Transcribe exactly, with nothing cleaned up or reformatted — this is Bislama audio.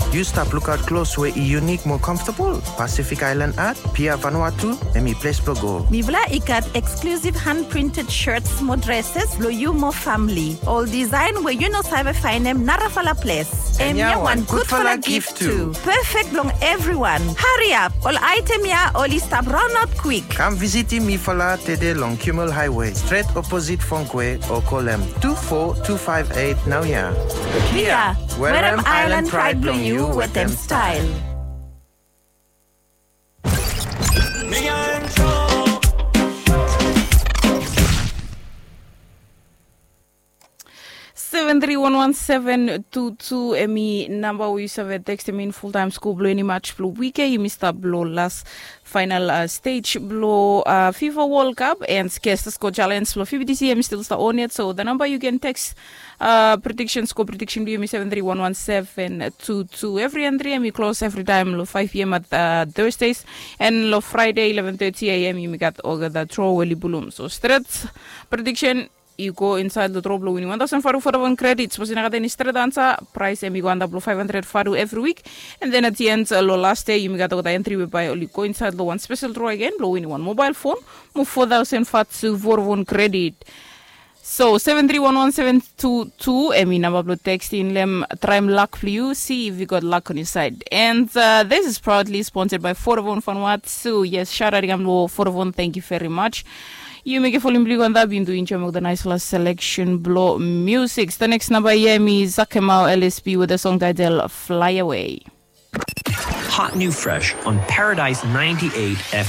Yu stap lukaot klos we i yunik mo comfortable? Pacific Island Art, Pia Vanuatu, hemi ples blo go. Mifala i gat exclusive hand printed shirts mo dresses blo yu mo famili. Ol design we yu no save faenem narafala ples. Hemia wan gudfala gift tu. Perfect blong everyone. Hariap, ol item ia oli stap raonaot kwik. Kam visitim mifala tede long Kimmel Highway, stret oposit Fongkwe, o kolem tu fo tu faef eit naoia. Pia, werem island pride blong yu wetem style. Seven three one one seven two two, hemi namba we yu save tekstem in fultaem skul blo eni mach blo wik ia. Yumi stap lo las faenal stej blo FIFA World Cup and Skesta Score Challenge blo FIFA this year hemi stil stap on yet. So the number you can text prediksen, score prediksen blo yumi seven three one one seven two two. Evri entri hemi klos evritaem lo five p.m. at Thursdays, and lo Friday eleven thirty a.m. yumi gat olgeta draw we oli bulum. So stret prediksen i go insaed lo draw blo winim wan taosen valu Vodafone credit. Sapos i no gat eni stret ansa, praes hemi go antap lo five hundred valu evri wik. And then at the end lo las dei yumi gat olgeta entri we bae oli go insaed lo wan spesel draw agen blo winim wan mobael fon mo four thousand valu Vodafone credit. So seven three one one seven two two hemi namba blo tekstem. Traem lak blo yu, si if yu gat lak on yu saed. And this is proudly sponsored by Vodafone Vanuatu. Yes, shaot aot i kam lo Vodafone, thank you very much. Yu mekem volim blo yu go antap, yu do enjoem olgeta naesfala seleksen blo musik. The next namba ia hemi Zakemau L S B with a song title Fly Away. Hot new fresh on Paradise ninety-eight F M.